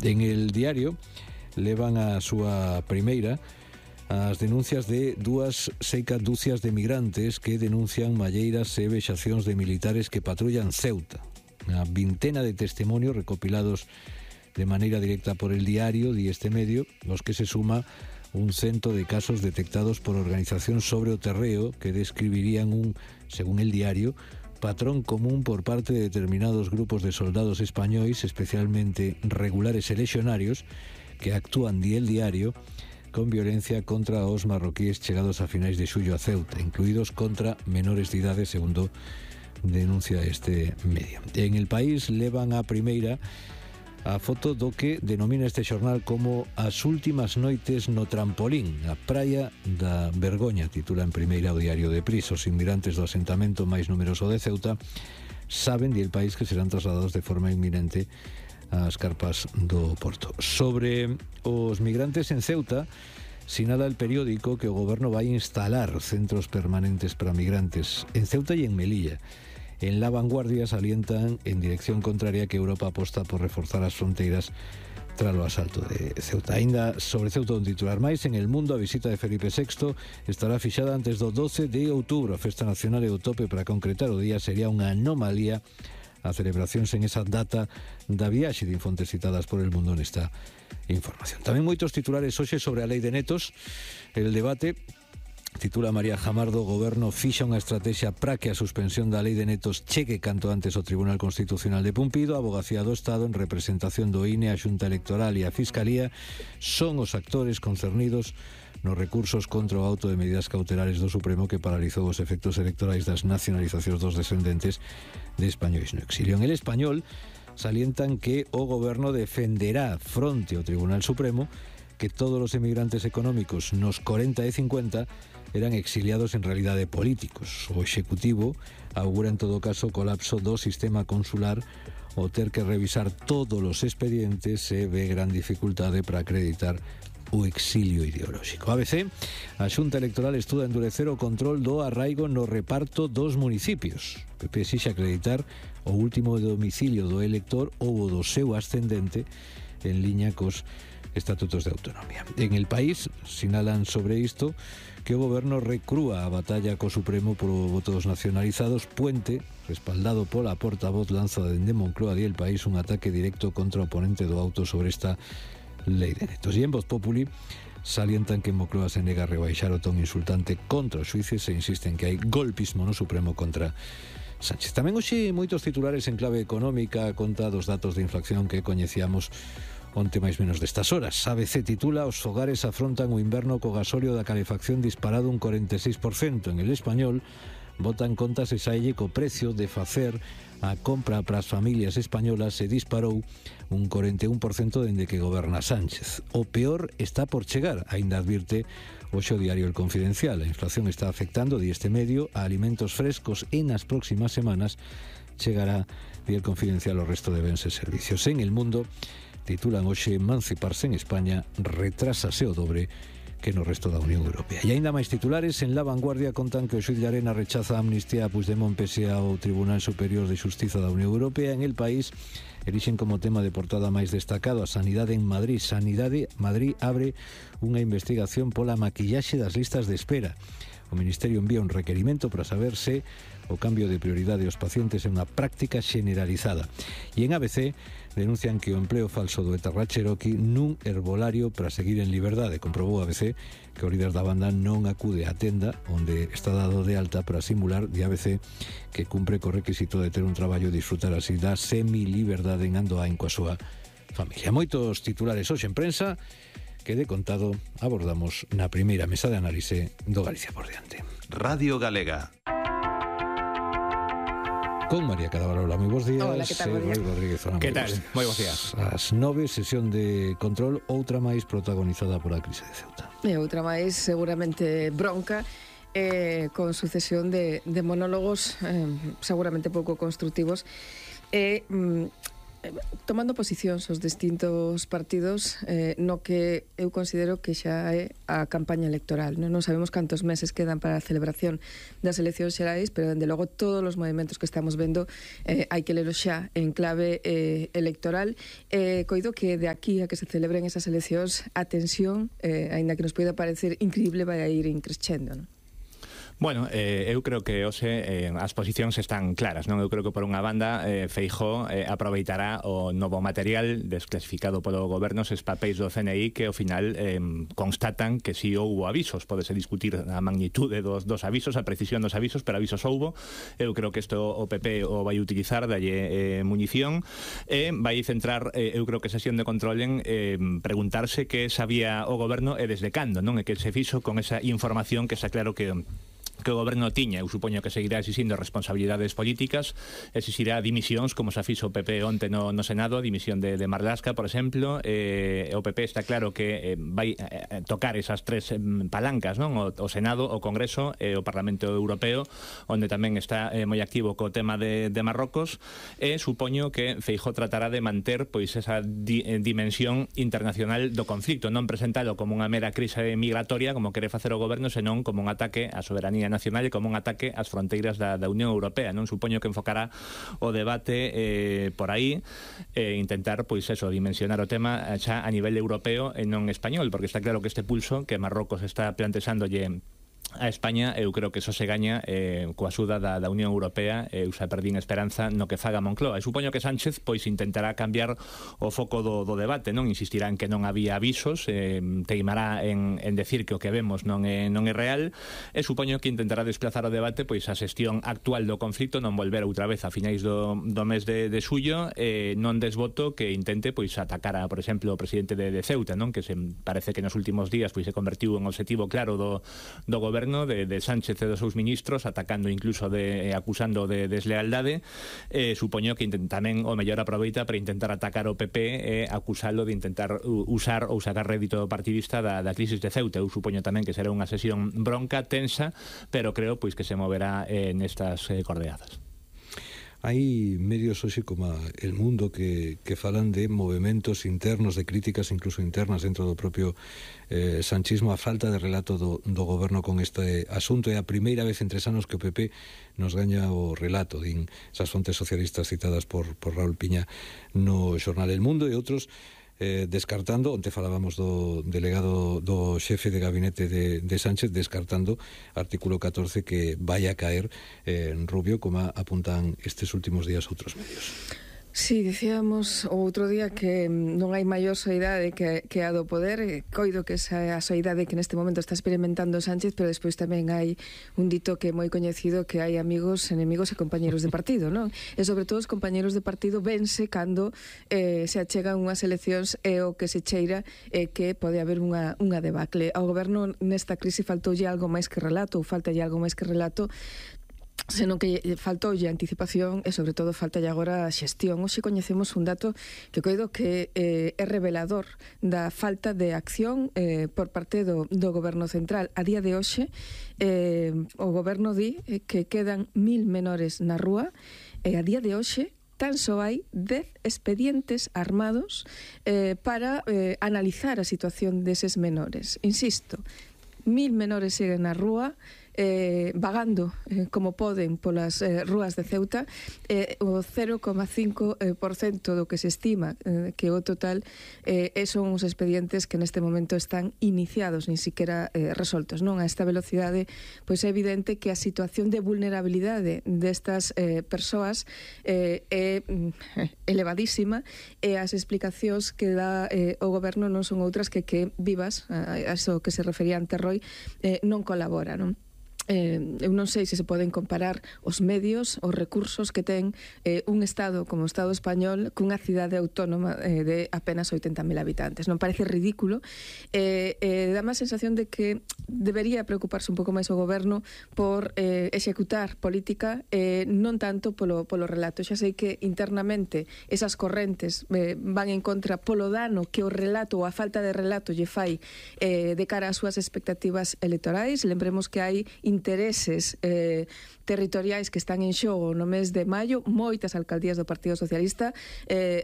En El Diario levan a súa primeira as denuncias de dúas dúcias de migrantes que denuncian malleiras e vexacións de militares que patrullan Ceuta. Unha vintena de testimonios recopilados de maneira directa por El Diario, di este medio, los que se suma un cento de casos detectados por organizacións sobre o terreo que describirían un, según El Diario, patrón común por parte de determinados grupos de soldados españois, especialmente regulares e lexionarios, que actúan, di El Diario, con violencia contra os marroquíes chegados a finais de xullo a Ceuta, incluídos contra menores de idade, segundo denuncia este medio. En El País levan a primeira a foto do que denomina este xornal como as últimas noites no trampolín, a praia da Vergoña, titula en primeira o Diario de Pris. Os inmigrantes do asentamento máis numeroso de Ceuta saben, di El País, que serán trasladados de forma inminente ás carpas do Porto. Sobre os migrantes en Ceuta, sinala el periódico que o goberno vai instalar centros permanentes para migrantes en Ceuta e en Melilla. En La Vanguardia salientan en dirección contraria que Europa aposta por reforzar as fronteiras tras o asalto de Ceuta. Ainda sobre Ceuta un titular máis, en El Mundo a visita de Felipe VI estará fixada antes do 12 de outubro. A festa nacional e o tope para concretar o día sería unha anomalía a celebracións en esa data da viaxe, de fontes citadas por El Mundo nesta información. Tamén moitos titulares hoxe sobre a lei de netos. El debate, titula María Jamardo, o goberno fixa unha estrategia para que a suspensión da lei de netos chegue canto antes ao Tribunal Constitucional de Pumpido. A Avogacía do Estado, en representación do INE, a Xunta Electoral e a Fiscalía, son os actores concernidos nos recursos contra o auto de medidas cautelares do Supremo que paralizou os efectos electorais das nacionalizacións dos descendentes de españois no exilio. En El Español salientan que o goberno defenderá fronte ao Tribunal Supremo que todos os emigrantes económicos nos 40 e 50 eran exiliados en realidade políticos. O Executivo augura en todo caso o colapso do sistema consular ao ter que revisar todos os expedientes e ve gran dificultade para acreditar o exilio ideolóxico. ABC, a Xunta Electoral estuda endurecer o control do arraigo no reparto dos municipios. PP exixe acreditar o último domicilio do elector ou o do seu ascendente en liña cos estatutos de autonomía. En El País sinalan sobre isto que o goberno recrúa a batalla co Supremo polo voto dos nacionalizados. Puente, respaldado pola portavoz, lanza dende Moncloa, di El País, un ataque directo contra o oponente do auto sobre esta lei de netos. E en Voz Populi salientan que Moncloa se nega a rebaixar o ton insultante contra os xuíces e insisten que hai golpismo no Supremo contra Sánchez. Tamén hoxe moitos titulares en clave económica, conta dos datos de inflación que coñecíamos onte máis menos destas horas. ABC titula: os fogares afrontan o inverno co gasóleo da calefacción disparado un 46%. En El Español botan contas e saelle co precio de facer a compra para as familias españolas se disparou un 41% dende que goberna Sánchez. O peor está por chegar, aínda advirte hoxe o diario El Confidencial. A inflación está afectando, di este medio, a alimentos frescos e nas próximas semanas chegará, di El Confidencial, o resto de bens e servicios. En El Mundo titulan hoxe: emanciparse en España retrásase o dobre que no resto da Unión Europea. E aínda máis titulares. En La Vanguardia contan que o xuíz Llarena rechaza a amnistía a Puigdemont pese ao Tribunal Superior de Xustiza da Unión Europea. En El País erixen como tema de portada máis destacado a sanidade en Madrid. Madrid abre unha investigación pola maquillaxe das listas de espera. O Ministerio envía un requerimento para saber se o cambio de prioridade aos pacientes é unha práctica generalizada. E en ABC denuncian que o empleo falso do etarra Cherokee nun herbolario para seguir en liberdade. Comprobou ABC que o líder da banda non acude á tenda onde está dado de alta para simular, de ABC, que cumpre co requisito de ter un traballo e disfrutar así da semi-liberdade en Andoain coa súa familia. Moitos titulares hoxe en prensa que, de contado, abordamos na primeira mesa de análise do Galicia por diante. Radio Galega. Con María Cadabarola, moi bons días. Hola, que tal, María? Rodríguez, Que tal? Moi bons días. As 9, sesión de control, outra máis protagonizada pola crise de Ceuta. E outra máis seguramente bronca, con sucesión de monólogos seguramente pouco constructivos. tomando posicións os distintos partidos no que eu considero que xa é a campaña electoral. Non sabemos cantos meses quedan para a celebración das eleccións xerais, pero dende logo todos os movimentos que estamos vendo hai que lelo xa en clave electoral. Coido que de aquí a que se celebren esas eleccións a tensión, aínda que nos poida parecer increíble, vai a ir increscendo, non? Bueno, eu creo que hoxe as posicións están claras, non? Eu creo que por unha banda Feijóo aproveitará o novo material desclasificado polo goberno, eses papéis do CNI que ao final constatan que si houbo avisos. Pódese discutir a magnitude dos avisos, a precisión dos avisos, pero avisos houbo. Eu creo que isto o PP o vai utilizar, dalle munición, e vai centrar, eu creo que sesión de control en preguntarse que sabía o goberno e desde cando, non? E que se fixo con esa información que está claro que o goberno tiña. Eu supoño que seguirá exixindo responsabilidades políticas, exixirá dimisións, como se fixo o PP onte no Senado, a dimisión de Marlaska, por exemplo. O PP está claro que vai tocar esas tres palancas, non? O Senado, o Congreso e o Parlamento Europeo, onde tamén está moi activo co tema de Marrocos, e supoño que Feijóo tratará de manter pois esa dimensión internacional do conflicto, non presentalo como unha mera crise migratoria, como quere facer o goberno, senón como un ataque á soberanía nacional e como un ataque ás fronteiras da Unión Europea, non? Supoño que enfocará o debate por aí e intentar, pois eso, dimensionar o tema xa a nivel europeo e non español, porque está claro que este pulso que Marrocos está plantexándolle a España, eu creo que eso se gaña coa axuda da Unión Europea. Eu xa perdín esperanza no que faga Moncloa. E supoño que Sánchez pois intentará cambiar o foco do debate, non? Insistirá en que non había avisos, teimará en decir que o que vemos non é real, e supoño que intentará desplazar o debate pois a xestión actual do conflito, non volver outra vez a finais do mes de xullo, non desvoto que intente pois atacar a, por exemplo, o presidente de Ceuta, non? Que se parece que nos últimos días pois se convertiu en objetivo claro do goberno de Sánchez e dos seus ministros, atacando incluso acusando de deslealdade. Supoño que tamén o mellor aproveita para intentar atacar o PP e acusalo de intentar usar ou sacar rédito partidista da crisis de Ceuta. Eu supoño tamén que será unha sesión bronca, tensa, pero creo pois que se moverá nestas coordenadas. Hai medios hoxe como El Mundo que falan de movementos internos, de críticas incluso internas dentro do propio sanchismo, a falta de relato do goberno con este asunto. É a primeira vez en 3 anos que o PP nos gaña o relato, din esas fontes socialistas citadas por Raúl Piña no xornal El Mundo, e outros descartando, onte falábamos do delegado do xefe de gabinete de Sánchez, descartando artículo 14 que vai a caer en Rubio, como apuntan estes últimos días outros medios. Sí, dicíamos o outro día que non hai maior soidade que a do poder. Coido que esa é a soidade que neste momento está experimentando Sánchez, pero despois tamén hai un dito que é moi coñecido, que hai amigos, enemigos e compañeros de partido, non? E sobre todo os compañeros de partido vense cando se achegan unhas eleccións, e o que se cheira é que pode haber unha debacle. Ao goberno nesta crise faltoulle algo máis que relato, ou faltalle algo máis que relato, senón que faltoulle anticipación e sobre todo faltalle agora a xestión. Hoxe coñecemos un dato que coido que é revelador da falta de acción por parte do goberno central. A día de hoxe o goberno di que quedan 1000 menores na rúa, e a día de hoxe tan só hai 10 expedientes armados para analizar a situación deses menores. Insisto, 1000 menores seguen na rúa, vagando como poden polas rúas de Ceuta, o 0,5% do que se estima que o total son os expedientes que neste momento están iniciados, nin siquiera resoltos, non? A esta velocidade, pois é evidente que a situación de vulnerabilidade destas persoas é elevadísima, e as explicacións que dá o goberno non son outras que vivas, a iso que se refería ante Roy, non colabora, non? Eu non sei se se poden comparar os medios, os recursos que ten un Estado como o Estado español cunha cidade autónoma de apenas 80.000 habitantes. Non parece ridículo? Dá má sensación de que debería preocuparse un pouco máis o goberno por executar política, non tanto polo relato. Xa sei que internamente esas correntes van en contra polo dano que o relato ou a falta de relato lle fai de cara ás súas expectativas electorais. Lembremos que hai intereses territoriais que están en xogo no mes de maio, moitas alcaldías do Partido Socialista,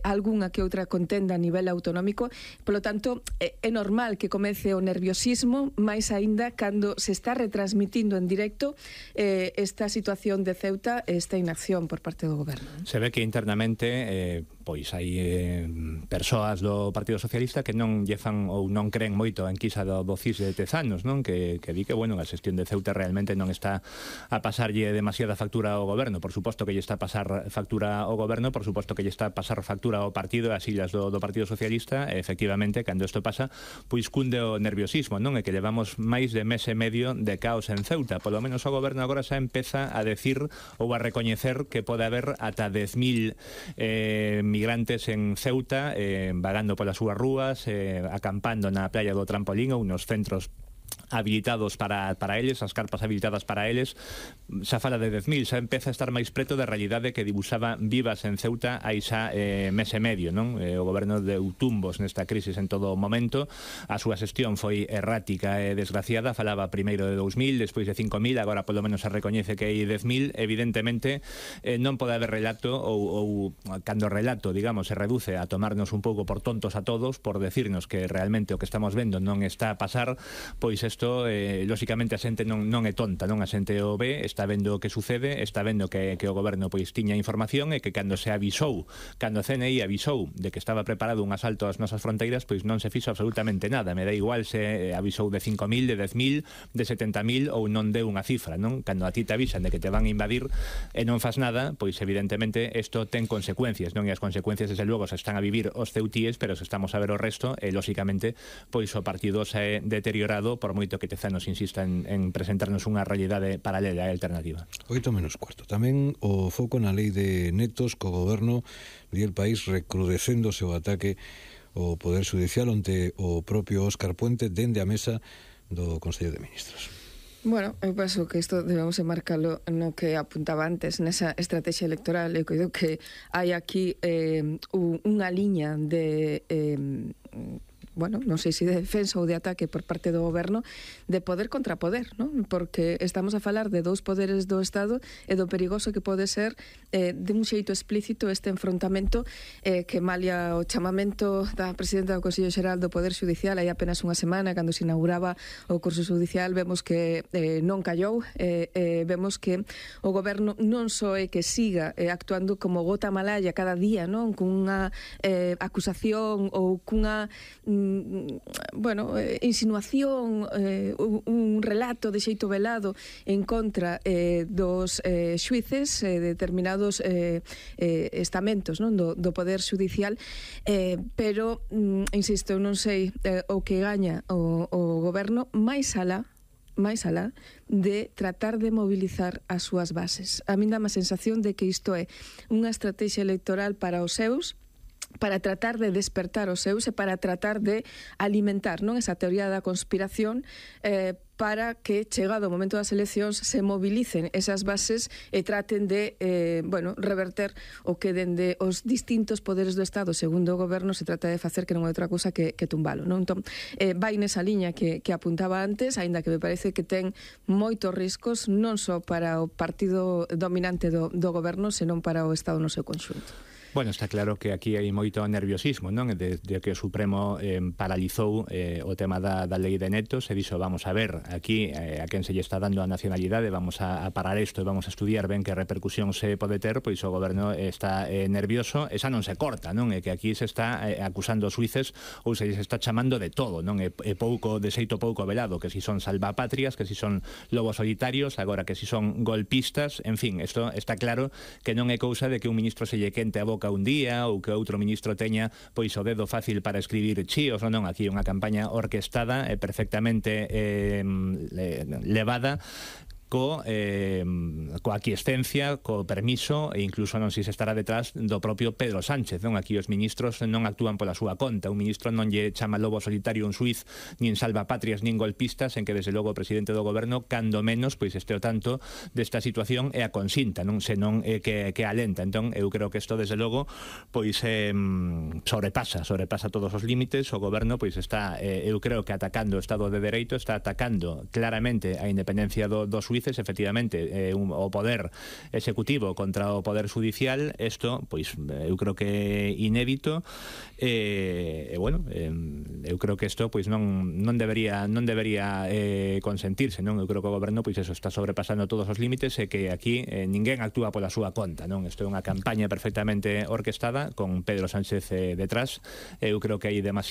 algunha que outra contenda a nivel autonómico. Polo tanto, é normal que comece o nerviosismo, máis aínda cando se está retransmitindo en directo esta situación de Ceuta, esta inacción por parte do goberno. Se ve que internamente pois hai persoas do Partido Socialista que non lle fan ou non creen moito a enquisa do CIS de Tezanos, non? Que di que, bueno, a xestión de Ceuta realmente non está a pasarlle demasiada factura ao goberno. Por suposto que lle está a pasar factura ao goberno, por suposto que lle está a pasar factura ao partido, ás illas do Partido Socialista. E, efectivamente, cando isto pasa, pois cunde o nerviosismo, non? É que levamos máis de mes e medio de caos en Ceuta. Polo menos o goberno agora xa empeza a decir ou a recoñecer que pode haber ata 10.000 migrantes en Ceuta, vagando polas súas rúas, acampando na playa do Trampolín ou nos centros habilitados para eles, as carpas habilitadas para eles. Xa fala de 10.000, xa empeza a estar máis preto da realidade que dibuixaba Vivas en Ceuta hai xa mes e medio, non? O goberno deu tumbos nesta crisis en todo o momento. A súa xestión foi errática e desgraciada. Falaba primeiro de 2.000, despois de 5.000, agora polo menos se recoñece que hai 10.000. Evidentemente non pode haber relato ou cando o relato, digamos, se reduce a tomarnos un pouco por tontos a todos, por decirnos que realmente o que estamos vendo non está a pasar, pois isto, lóxicamente, a xente non é tonta, non? A xente o ve, está vendo o que sucede, está vendo que o goberno pois tiña información e que cando se avisou, cando a CNI avisou de que estaba preparado un asalto ás nosas fronteiras, pois non se fixo absolutamente nada. Me dá igual se avisou de 5.000, de 10.000, de 70.000 ou non deu unha cifra, non? Cando a ti te avisan de que te van a invadir e non fas nada, pois evidentemente isto ten consecuencias, non? E as consecuencias, desde logo, se están a vivir os ceutíes, pero se estamos a ver o resto, e lóxicamente, pois o partido se é deteriorado por moito que Tezanos insista en presentarnos unha realidade paralela e alternativa. 8:15. Tamén o foco na lei de netos co goberno di el país recrudecéndose o ataque ao Poder Judicial onte o propio Óscar Puente dende a mesa do Consello de Ministros. Bueno, eu penso que isto debemos enmarcalo no que apuntaba antes, nesa estrategia electoral. Eu creo que hai aquí unha liña de bueno, non sei se de defensa ou de ataque por parte do goberno, de poder contra poder, non? Porque estamos a falar de dous poderes do Estado e do perigoso que pode ser de un xeito explícito este enfrontamento que malia o chamamento da presidenta do Consello Xeral do Poder Judicial hai apenas unha semana, cando se inauguraba o curso judicial, vemos que non callou, vemos que o goberno non só é que siga actuando como gota malaya cada día, non? Cunha acusación ou cunha bueno, insinuación, un relato de xeito velado en contra dos xuíces, determinados estamentos, non? Do Poder Judicial, pero, insisto, non sei o que gaña o goberno máis alá de tratar de mobilizar as súas bases. A min dá má sensación de que isto é unha estrategia electoral para os seus, para tratar de despertar os seus e para tratar de alimentar, non, esa teoría da conspiración, para que, chegado o momento das eleccións, se mobilicen esas bases e traten de, bueno, reverter o que dende os distintos poderes do Estado, segundo o goberno, se trata de facer, que non é outra cousa que tumbalo, non? Entón, vai nesa liña que apuntaba antes, aínda que me parece que ten moitos riscos, non só para o partido dominante do goberno, senón para o Estado no seu conxunto. Bueno, está claro que aquí hai moito nerviosismo, non? Desde que o Supremo paralizou o tema da lei de netos e dixo, vamos a ver, aquí a quen se lle está dando a nacionalidade, vamos a parar isto e vamos a estudiar ben que repercusión se pode ter, pois o goberno está nervioso, esa non se corta, non? É que aquí se está acusando os xuíces ou se está chamando de todo, non? É pouco, de xeito pouco velado, que si son salvapatrias, que si son lobos solitarios, agora que si son golpistas, en fin, isto está claro que non é cousa de que un ministro se lle quente a boca un día ou que outro ministro teña pois o dedo fácil para escribir chíos, non, aquí unha campaña orquestada e perfectamente levada coa aquiescencia, co permiso e incluso non sei se estará detrás do propio Pedro Sánchez, non? Aquí os ministros non actúan pola súa conta, un ministro non lle chama lobo solitario un xuiz, nin salvapatrias, nin golpistas, en que desde logo o presidente do goberno, cando menos, pois este o tanto desta situación e a consinta, non? Senón que alenta. Entón, eu creo que isto desde logo pois sobrepasa todos os límites. O goberno pois está, eu creo que atacando o Estado de Dereito, está atacando claramente a independencia do xuiz dices, efectivamente, o poder executivo contra o poder judicial, isto, pois, eu creo que é inédito, bueno, eu creo que isto pois non debería consentirse, non? Eu creo que o goberno pois eso está sobrepasando todos os límites e que aquí ninguén actúa pola súa conta, non? Isto é unha campaña perfectamente orquestada con Pedro Sánchez detrás. Eu creo que hai demasiado